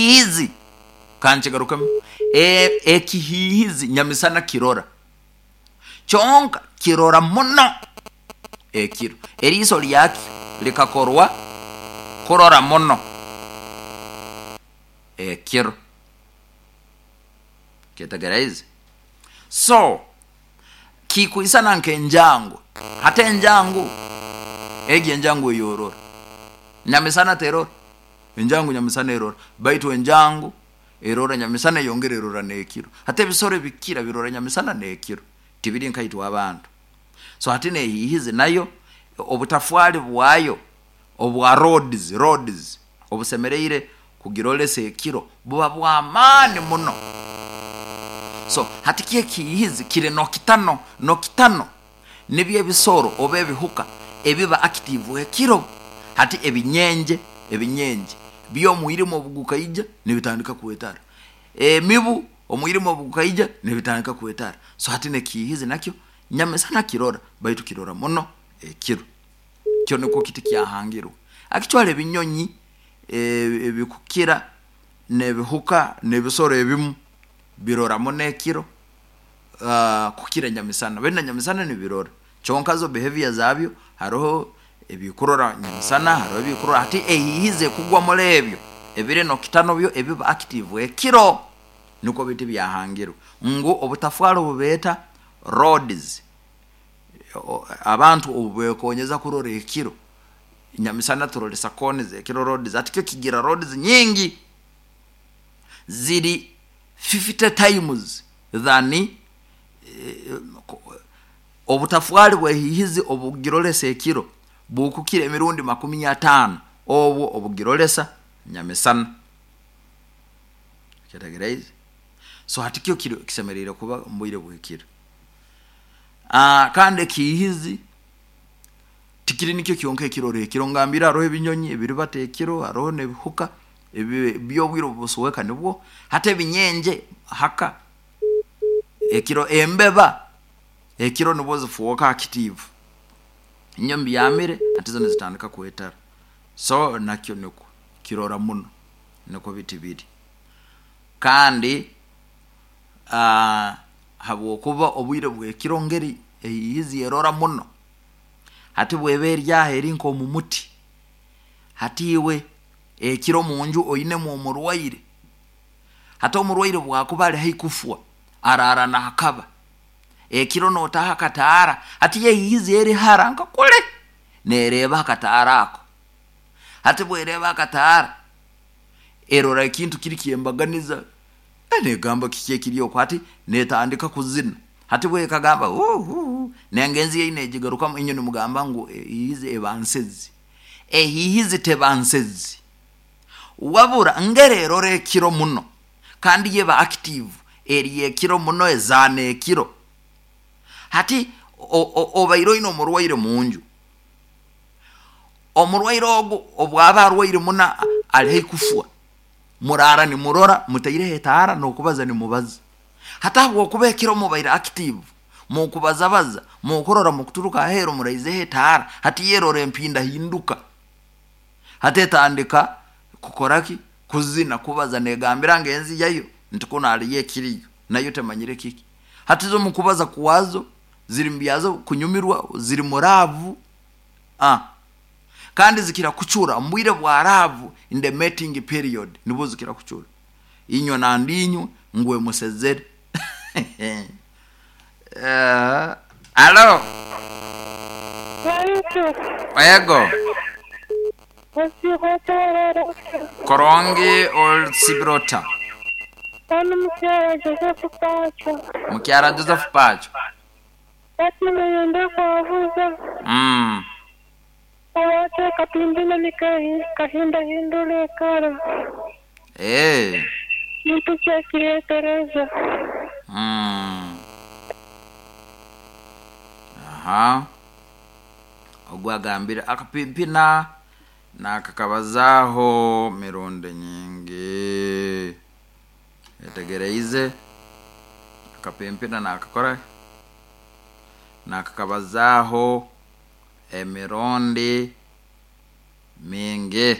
Ekihiihizi, ka nkigarukemu, ekihiihizi nyamisana kirora, kyonka kirora muno ekiro. Eriiso ryakyo rikakorwa kurora muno ekiro. Kyetegereize? So, kikwisana nk'enjangu. Hati enjangu, egyo enjangu eyorora, nyamisana terora. Enjangu nyamisana erora, baitu enjangu erora nyamisana eyongera erora n'ekiro. Hati ebisoro ebikira birora nyamisana n'ekiro, tibiri nkaitwe abantu. So hati n'ehiihizi nayo obutafwari bwayo obwa rods, rods, obusemereire kugiroresa ekiro buba bw'amaani muno. So hati kyo ekihiihizi kiri nokitano, nokitano Nibyo ebisoro oba ebihuka ebiba active ekiro. Hati ebinyenje, ebinyenje byo omwirima obu gukaija nibitandika kwetara. Emibu omwirima obu gukaija nibitandika kwetara. So hati n'ekihihizi nakyo nyamisana kirora baitu kirora muno ekiro. Kyo nikwo kiti kyahangirwe. Actually ebinyonyi ebikukira n'ebihuka n'ebisoro ebimu birora muno ekiro. kukira nyamisana. Beitu na nyamisana nibirora kyonka zo behavior zabyo hariho ebikurora nyamisana hariho ebikurora hati ehiihizi ekugwa omuri ebyo ebiri nokitano byo ebiba active ekiro nikwo biti byahangirwe ngu obutafwari obu beeta roads abantu obu bekonyeza kurora ekiro nyamisana turoresa cones ekiro roads hati kyo kigira roads nyingi ziri 50 times than obutafwari bw'ehiihizi obugiroresa ekiro bukukira emirundi 50 obwo obugiroresa nyamisana. Okyetegereize? So hati kyo kiro kisemeriire kuba omu bwire bw'ekiro. Kandi ekihiihizi tikiri nikyo kyonka ekirora ekiro, ngambire haroho ebinyonyi ebiribata ekiro, haroho n'ebihuka ebi obwire obu busweka nibwo hati ebinyenje haka ekiro embeba ekiro nibwo zifwoka active inywe mubyamire hati zo nizitandika kwetara so nakyo nikwo kirora muno nikwo biti biri kandi habwokuba obwire bw'ekiro ngeri ehiihizi erora muno hati bweba eri aho eri nk'omu muti hati iwe Ekiro omu nju oinemu omurwaire, hati omurwaire obu akuba ari haihi kufwa, araara naakaba. Ekiro nootaho akataara, hati yo ehiihizi eri hara nka kure, neereeba akataara ako. Hati obu ereeba akataara, erora ekintu kiri ky'embaganiza, neegamba kiki ekiri oku, hati neetandika kuzina. Hati obu ekagamba huu huu, nengenzi yayo neegigarukamu, inywe nimugamba ngu ehiihizi eba nsezi. Ehiihizi teba nsezi wabura ngeri erora ekiro muno kandi yo eba active eri ekiro muno ezaana ekiro. Hati obaire oine omurwaire munju, omurwaire ogu obwaba arwaire muno ari haihi kufwa, muraara nimurora mutaireho etaara n'okubaza nimubaza. Hati ahabw'okuba ekiro mubaire active, mukubazabaza, mukurora mukuturuka aheeru muraizeho etaara, hati yo erora empindahinduka. Hati etandika kukora ki? Kuzina, kubaza, negambira ngenzi yayo nti kunu hariyo ekiriyo, nayo temanyire kiki. Hati zo mukubaza kwazo, ziri mubyazo kunyumirwa, ziri mu laavu, ah. Kandi zikira kucura omu bwire bwa laavu in the mating period, nibwo zikira kucura. Inywe nandi inywe ngu emusezere. Alo. Baitu. Ego. Osiiba ota oraara ota? Kurungi osiibire ota? Onu mukyara Joseph Pacho. Mukyara Joseph Pacho. Hati niinyenda kwabuza. Lwaki akapimbi nikahindahindura ekara? Kintu ki ekireetereza? Aha. Ogu agambire akapimpina naakakabazaaho mirundi nyingi. Oyetegereize? Akapimpina naakakora ki? Naakakabazaaho. Emirundi mingi.